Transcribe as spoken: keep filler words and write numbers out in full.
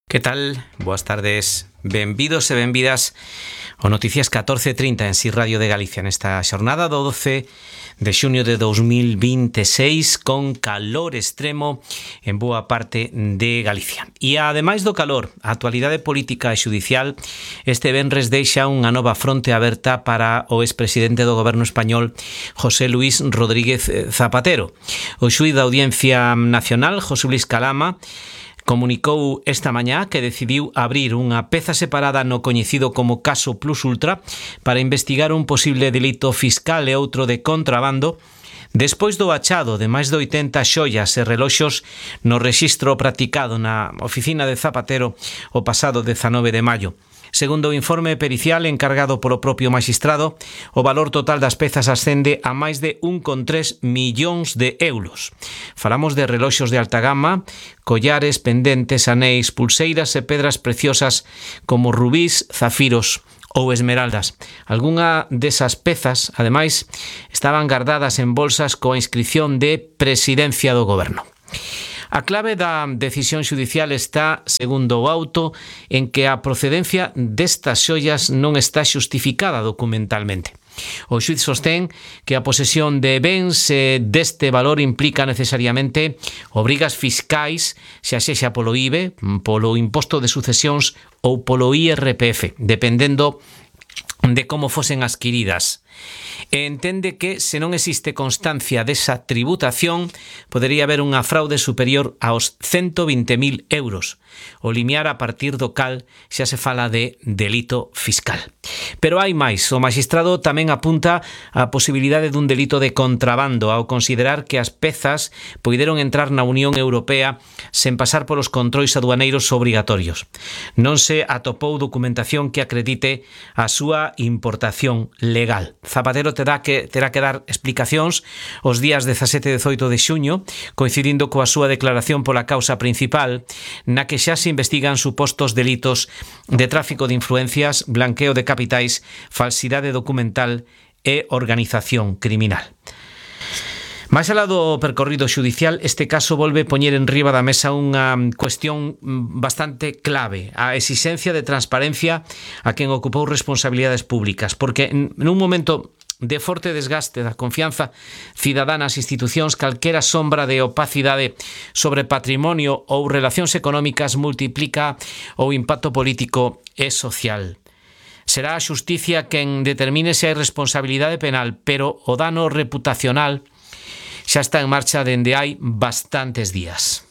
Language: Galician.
Que tal? Boas tardes. Benvidos e benvidas ao Noticias catorce trinta en Si Radio de Galicia nesta xornada do doce de xuño de dos mil vinte e seis con calor extremo en boa parte de Galicia. E ademais do calor, a actualidade política e xudicial este venres deixa unha nova fronte aberta para o expresidente do goberno español José Luis Rodríguez Zapatero. O xuíz da Audiencia Nacional, José Luis Calama, comunicou esta mañá que decidiu abrir unha peza separada no coñecido como caso Plus Ultra para investigar un posible delito fiscal e outro de contrabando despois do achado de máis de oitenta xoias e reloxos no rexistro practicado na oficina de Zapatero o pasado dezanove de maio. Segundo o informe pericial encargado polo propio maxistrado, o valor total das pezas ascende a máis de un coma tres millóns de euros. Falamos de reloxos de alta gama, collares, pendentes, anéis, pulseiras e pedras preciosas como rubís, zafiros ou esmeraldas. Algunha desas pezas, ademais, estaban guardadas en bolsas coa inscripción de Presidencia do Goberno. A clave da decisión xudicial está, segundo o auto, en que a procedencia destas xoias non está xustificada documentalmente. O xuíz sostén que a posesión de bens deste valor implica necesariamente obrigas fiscais, xa sexa polo I V E, polo imposto de sucesións ou polo I R P F, dependendo de como fosen adquiridas. Entende que, se non existe constancia desa tributación, podería haber unha fraude superior aos ciento vinte mil euros. O limiar a partir do cal xa se fala de delito fiscal. Pero hai máis. O maxistrado tamén apunta a posibilidade dun delito de contrabando ao considerar que as pezas poideron entrar na Unión Europea sen pasar polos controis aduaneiros obrigatorios. Non se atopou documentación que acredite a súa importación legal. Zapatero terá que, terá que dar explicacións os días dezasete e dezoito de xuño, coincidindo coa súa declaración pola causa principal, na que xa se investigan supostos delitos de tráfico de influencias, blanqueo de capitais, falsidade documental e organización criminal. Mais alá do percorrido xudicial, este caso volve poñer en riba da mesa unha cuestión bastante clave, a exixencia de transparencia a quen ocupou responsabilidades públicas, porque nun momento de forte desgaste da confianza cidadá nas institucións, calquera sombra de opacidade sobre patrimonio ou relacións económicas multiplica o impacto político e social. Será a xusticia quen determine se hai responsabilidade penal, pero o dano reputacional xa está en marcha dende hai bastantes días.